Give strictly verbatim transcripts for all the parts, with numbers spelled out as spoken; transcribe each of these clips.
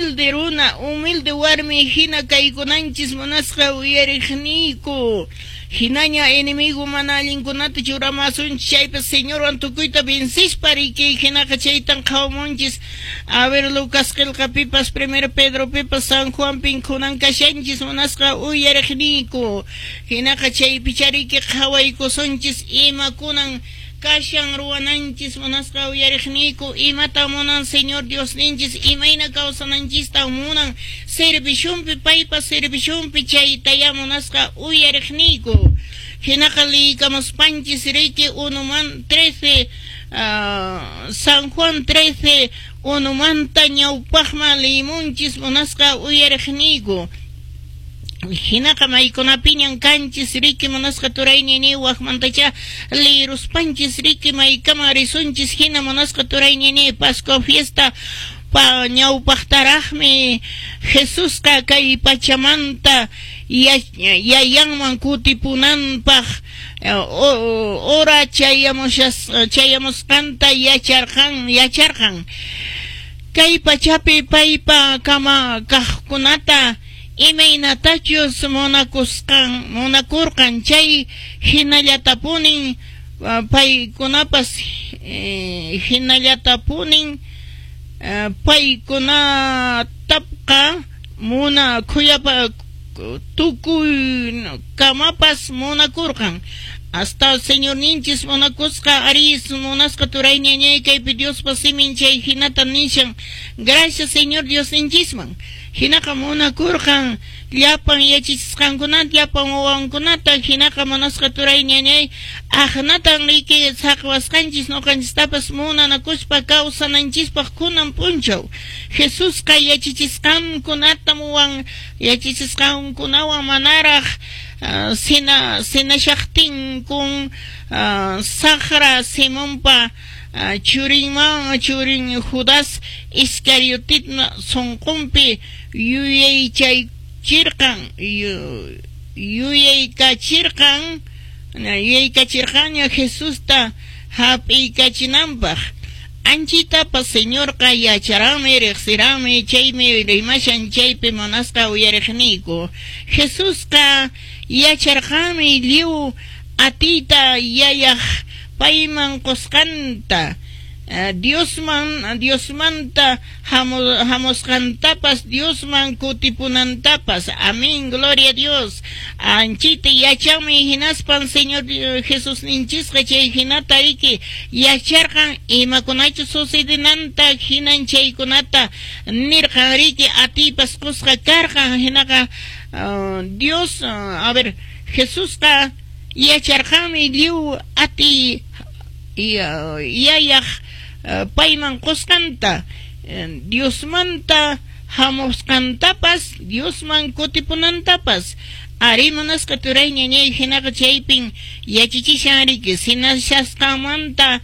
Humilde runa, humilde warmi hina kaykunanchis munasqa uyariqniyku. Hinaña enemigo mana allinkunata churamasunchis chaypas Señorwan tukuyta vencispa riki hinaqa chaytan qhawamunchis. A ver, Lucas qillqapipas, Primero Pedropipas, San Juanpin kunan kashanchis munasqa uyariqniyku. Hinaqa chaypicha riki qhawaykusunchis imakunan kashan ruwananchis munasqa uyariqniyku, imata munan Señor Diosninchis, imayna kawsananchista munan servishunpi, paypa servishunpi chaytaya munasqa uyariqniyku. Hinaqa liykamuspanchis riki unuman trece, uh, San Juan trece unumanta ñawpaqman liyimunchis munasqa uyariqniyku. Hinaqa maykunapiñan kanchis riki munasqa turayñini waqmantacha liruspanchis riki maykama risunchis hina munasqa turayñini. Pascua fiesta pa ñawpaqtaraqmi Jesusqa kay pachamanta yayanman kutipunanpaq hora chayamushas chayamusqanta yacharqan yacharqan. Kay pachapi paypa kama kaqkunata imaynatachus munakusqan munakurqan chay hinallatapunin paykunapas hinallatapunin paykunatapqa muna khuyapa tukuy kamapas munakurqan. Hasta Señor ninchis munakusqa aris munasqa turayñañay kaypi Diospa simin chay hinata nishan. Gracias Señor Dios ninchisman. Hinaqa munakurqan llapan yachachisqankunata, llapan wawankunata. Hinaqa munasqa turayñañay aqnatan riki saqwasqanchis ñuqanchistapas munanakuspa kawsananchispaq kunan p'unchaw. Jesusqa yachachisqankunata wan yachachisqankunawan manaraq Uh, sina sinashaqtinkun uh, Saqra Simonpa uh, churinman churin Judas Iscariotitna sunqunpi yuyaychaychirqan yuyaykachirqan yuyaykachirqanña Jesusta hap'iykachinanpaq. Anchitapas Señorqa yacharanmi riqsiranmi chaymi rimashan chaypi munasqa uyariqniyku. Jesusqa yacharqanmi lliw atiyta yayaq payman qusqanta, Diosman Diosmanta hamusqantapas, Diosman kutipunantapas. Amén, gloria a Dios. Anchita yachanmi hinaspan Señor Jesús ninchisqa chay hinata riki yacharqan imakunachu sucedenanta hinan chaykunata nirqan riki atiypas qusqa karqan. Hinaqa uh, Dios uh, a ver, Jesusqa yacharqanmi lliw atiy yayaq payman qusqanta, Diosmanta hamusqantapas, Diosman kutipunantapas. Ari munasqa turayñañay hinaqa chaypin yachachishan riki sinashasqanmanta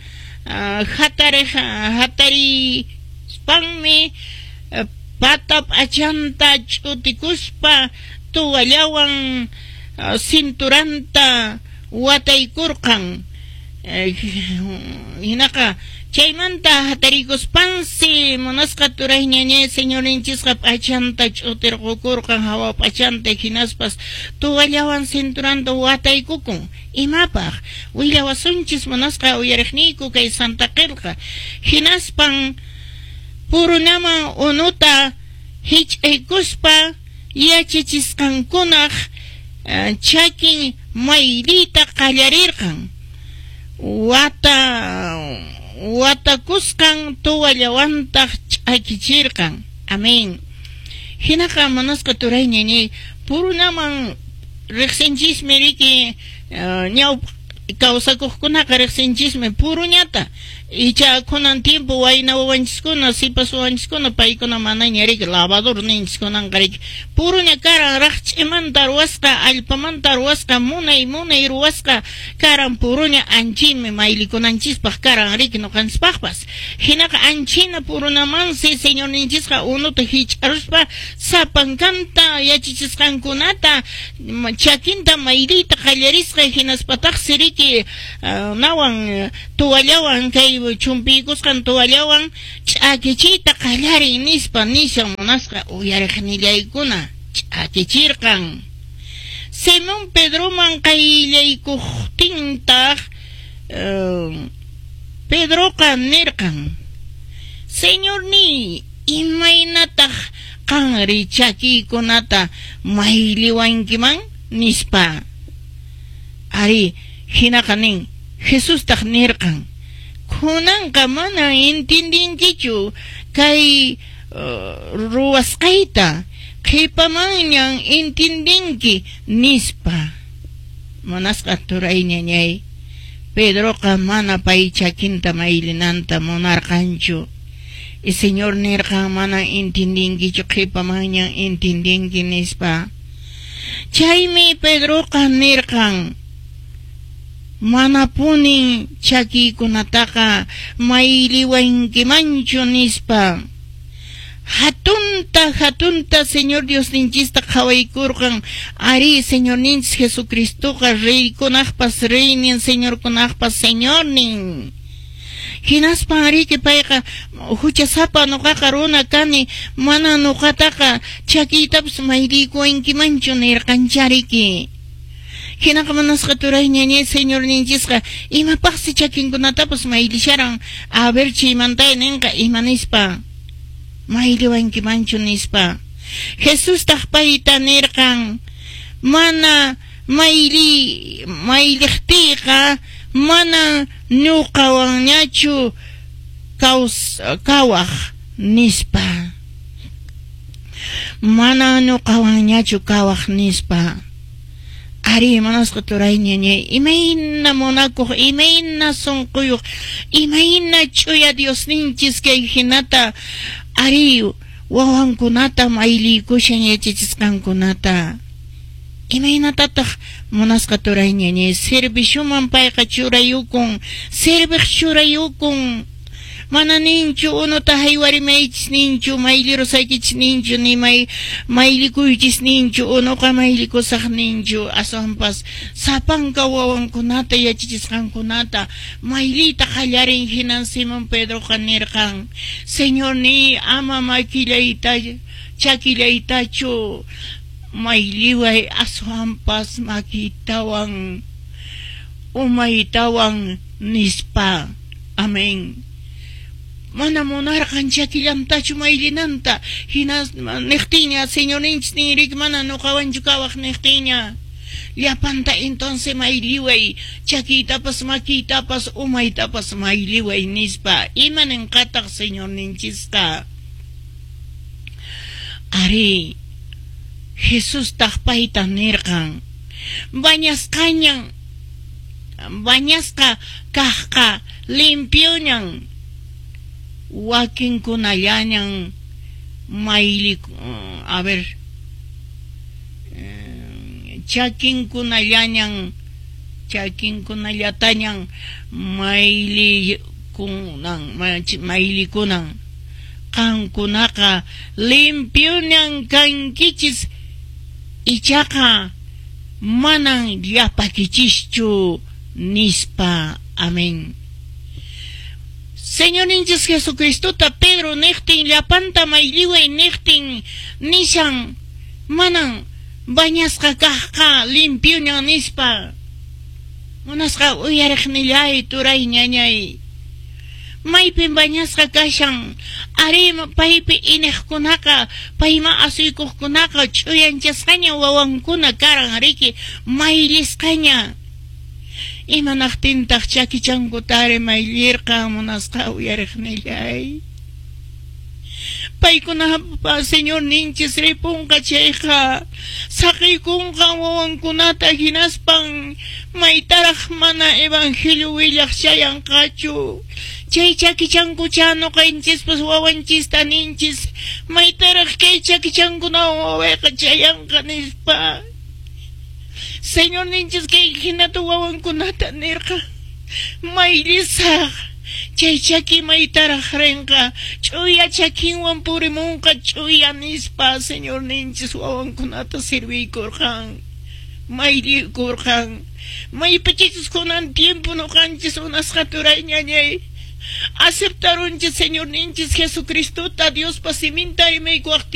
hatariq hatarispanmi pata p'achanta ch'utikuspa tuwallawan cinturanta wataykurqan. Hinaqa chaymanta hatarikuspansi munasqa turayñañay Señorninchisqa p'achanta ch'utirqukurqan hawa p'achanta hinaspas tuwallawan cinturanta wataykukun. Imapaq willawasunchis munasqa uyariqniyku kay Santa Qillqa. Hinaspan purunaman unuta hich'aykuspa yachachisqankunaq chakin mayliyta qallarirqan. Wata watakusqan tuwallawantaq ch'akichirqan. Amén. Hinaqa munasqa turayñañay purunaman riqsinchismi riki ñawpa kawsakuqkunaqa riqsinchismi puruñata. Icha kunan tiempo wayna wawanchiskuna sipas wawanchiskuna paykuna manaña riki lavador ninchis kunanqa riki puruña karan raqch'imanta ruwasqa allpamanta ruwasqa munay munay ruwasqa karan puruña anchimi maylikunanchispaq karan riki ñuqanchispaqpas. Hinaqa anchina purunamansi Señorninchisqa unuta hich'aruspa sapankanta yachachisqankunata chakinta mayliyta qallarisqa hinaspataqsi riki uh, nawan tuwallawan kay chay chumpiykusqan toallawan ch'akichiyta qallarin nispa nishan munasqa uyariqnillaykuna ch'akichirqan. Simón Pedroman qayllaykuqtintaq uh, Pedroqa nirqan: Señorniy, imaynataq qanri chakiykunata mayliwankiman nispa. Ari, hinaqa nin, Jesustaq nirqan: Kunanqa mana entendinkichu kay uh, ruwasqayta, qhipamanñan entendinki nispa. Munasqa turay ñañay, Pedroqa mana pay chakinta maylinanta munarqanchu. Y Señor nirqan mana entendinkichu, qhipamanñan entendinki nispa. Chaymi Pedroqa nirqan: Manapunin chakiykunataqa mayliwankimanchu nispa. Hatunta, hatunta Señor Diosninchista qhawaykurqan. Ari, Señorninchis Jesucristoqa reykunaqpas reynin, señorkunaqpas señornin. Hinaspan riki payqa huchasapa nuqaqa runa kani, mana nuqataqa chakiytapas mayliykuwankimanchu nirqanchariki. Hinaqa munasqa turay ñañay, Señorninchisqa imapaqsi chakinkunatapas maylisharan? A ver, chaymanta ninqa ima nispa, mayliwankimanchu nispa. Jesustaq payta nirqan: Mana mayli mayliqtiyqa mana ñuqawanñachu kaws kawaq nispa. Mana ñuqawanñachu kawaq nispa. Ari, munasqa turay ñañay, imayna munakuq, imayna sunquyuq, imayna ch'uya Diosninchis kay hinata ari wawankunata mayliykushan yachachisqankunata. Imaynatataq munasqa turay ñañay servishuman payqa churayukun, serviq churayukun. Mana ninchu unuta haywarimaychis ninchu, maylirusaykichis ninchu, ni may maylikuychis ninchu, unuqa maylikusaq ninchu. Aswanpas sapanka wawankunata yachachisqankunata mayliyta qallarin. Hinan Simón Pedroqa nirqan: Señorniy, ama makillayta chakillaytachu mayliway, aswanpas makiytawan umaytawan nispa. Amén. Mana munarqan chakillantachu maylinanta. Hinas niqtiña Señorninchis ninrik mana nuqawanchu kawaq niqtiña. Llapanta entonces mayliway, chakiytapas makiytapas umaytapas mayliway nispa. Ima ninqataq Señorninchisqa? Ari, Jesustaq payta nirqan: Bañasqañan, bañasqa kaqqa limpioñan, wakinkunallañan mayli, a ver, chakinkunallañan, chakinkunallatañan maylikunan, maylikunan. Qankunaqa limpioñan kankichis, ichaqa manan llapakichischu nispa. Amén. Señorninchis Jesucristota Pedro niqtin llapanta mayliway niqtin nishan manan bañasqa kaqqa limpioñan nispa. Munasqa uyariqnillay turay ñañay, maypin bañasqa kashan? Ari, paypi iniqkunaqa, payma asuykuqkunaqa ch'uyanchasqaña wawankuna karan riki, maylisqaña. Imanaqtintaq chakichankutari maylirqan munasqa uyariqnillay? Paykunapa Señorninchis ripunqa chayqa saqiykunqa wawankunata, hinaspan maytaraq mana evangelio willaq chayanqachu. Chay chakichankucha nuqanchispas wawanchista ninchis maytaraq kay chakichankunawan wawayqa chayanqa nispa. Señorninchis kay hinata wawankunata nirqa: Maylisaq chay chaki maytaraq rinqa, ch'uya chakinwan purimunqa ch'uya nispa. Señorninchis wawankunata sirviykurqan, maylikurqan. Maypichis kunan tiempo nuqanchis unasqa turay ñañay Aceptarunchis Señorninchis Jesucristota Diospa siminta imaykuwaqtinchis.